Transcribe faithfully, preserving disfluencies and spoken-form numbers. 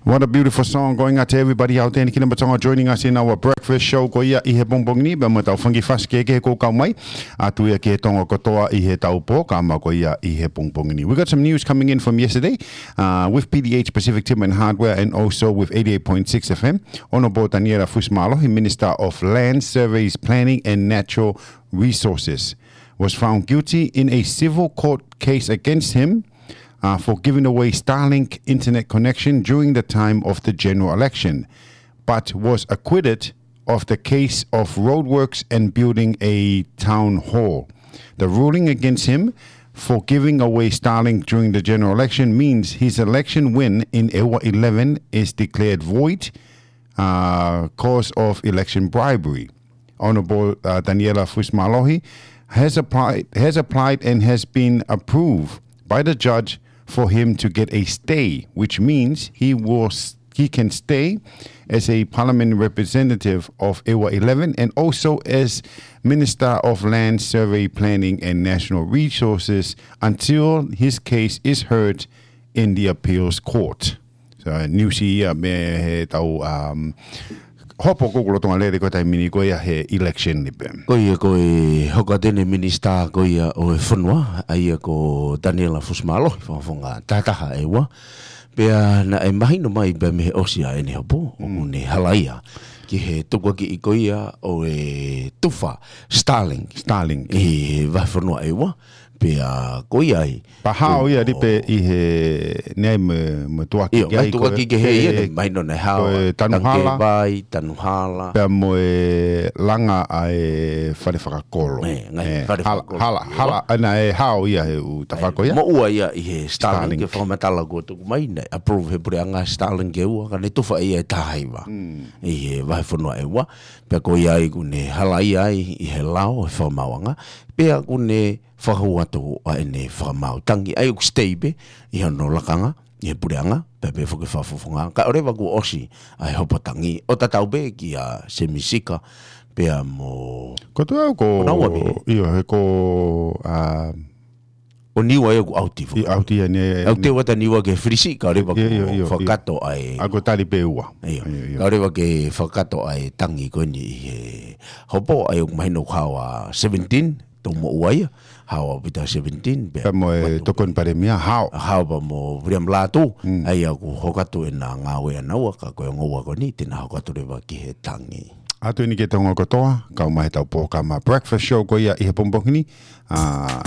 What a beautiful song going out to everybody out there in the Kingdom of Tonga joining us in our breakfast show ko ia ʻi he pongipongi ni, pea mo e tau fanga kiʻi fasi kehekehe kuo kau mai. Atu ia ki he Tonga kotoa ʻi he tau polokalama ko ia ʻi he pongipongi ni. We got some news coming in from yesterday, uh, with P D H Pacific Timber and Hardware and also with eighty-eight point six F M. Honourable Taniela Fusimālohi, Minister of Land, Surveys, Planning and Natural Resources, was found guilty in a civil court case against him uh, for giving away Starlink internet connection during the time of the general election, but was acquitted of the case of roadworks and building a town hall. The ruling against him for giving away Starlink during the general election means his election win in ʻEua eleven is declared void, uh, cause of election bribery. Honourable, uh, Taniela Fusimālohi has applied, has applied and has been approved by the judge for him to get a stay, which means he was, he can stay as a parliament representative of ʻEua eleven and also as Minister of Land, Survey, Planning and Natural Resources until his case is heard in the appeals court. So, news ia mei he tau, um, hopo ko ē ʻoku lolotonga lele ko e taimi ni ko ia he election ni pē. Ko ia ko e hoko atu eni e minisitā ko ia ʻo e fonua, ʻa ia ko Taniela Fusimālohi, fakafofonga tahataha ʻEua. Pea naʻe mahino mai pē mei he ʻosi ʻa ʻene hopo, ʻoku ne halaia ki he tukuakiʻi ko ia ʻo e tufa Starlink. Starlink. ʻI he vahefonua ʻEua. Pea ko ia ai. Pea hao ia ʻo lipe ʻi he, naʻe mo, mo e tukuakiʻi ʻIo, ki ai ko e tukuakiʻi kehe ia, naʻe mahino naʻe hao ko e ʻa Tangi Tanuhala. Vai, Tanuhala. Pea mo e langa ʻa e fale fakakolo. ʻE, ngaahi fale fakakolo. Hala, hala, ʻa naʻe hao ia he ʻū tafaʻaki ia. Moʻua ia ʻi he Starlink, Starlink. Ke fakamatala kuo tuku mai naʻe approve he puleʻanga Starlink ʻe ua, ka ne tufa ia ʻe taha hiva. ʻI he vahefonua ʻEua. Pea ko ia ai ʻoku ne halaia ai ʻi he lao he fakamaauʻanga. Pea ʻoku ne fakahū atu ʻa ʻene fakamaau Tangi, ʻa ia ʻoku stay pē ʻi hono lakanga ʻi he puleʻanga, pea pehē foki fakafofonga. Kae ʻoua leva kuo ʻosi ʻa e hopo Tangi, ʻo tatau pē kia Semi Sika, pea mo Ko tu au ko, ko Naua pē. ʻIo, he ko, ʻa, ʻo Niua ia ʻoku ʻauti foki. ʻIo, ʻauti ia ne, ʻauti ʻa Niua ke fili siʻi, kae ʻoua leva kuo fakakakato ʻa e. ʻA ko tali pē ua. ʻIo. ʻIo, ʻio. Kae ʻoua leva ke fakakakato ʻa e Tangi ko eni ʻi he hopo, ʻa ia ʻoku mahino ʻoku hao ʻa seventeen, tau moʻua ia, hao ʻaupito seventeen, pea mo e tokoni palēmia, hao. Hao pea mo Viliami Lātū, ʻa ia ʻoku hoko atu ʻena ngāue ʻanaua, ka ko e ongo ua ko eni, te na hoko atu leva ki he Tangi. ʻAtu eni ki he Tonga kotoa, kau mai he tau polokalama breakfast show ko ia ʻi he pongipongi ni, ʻa,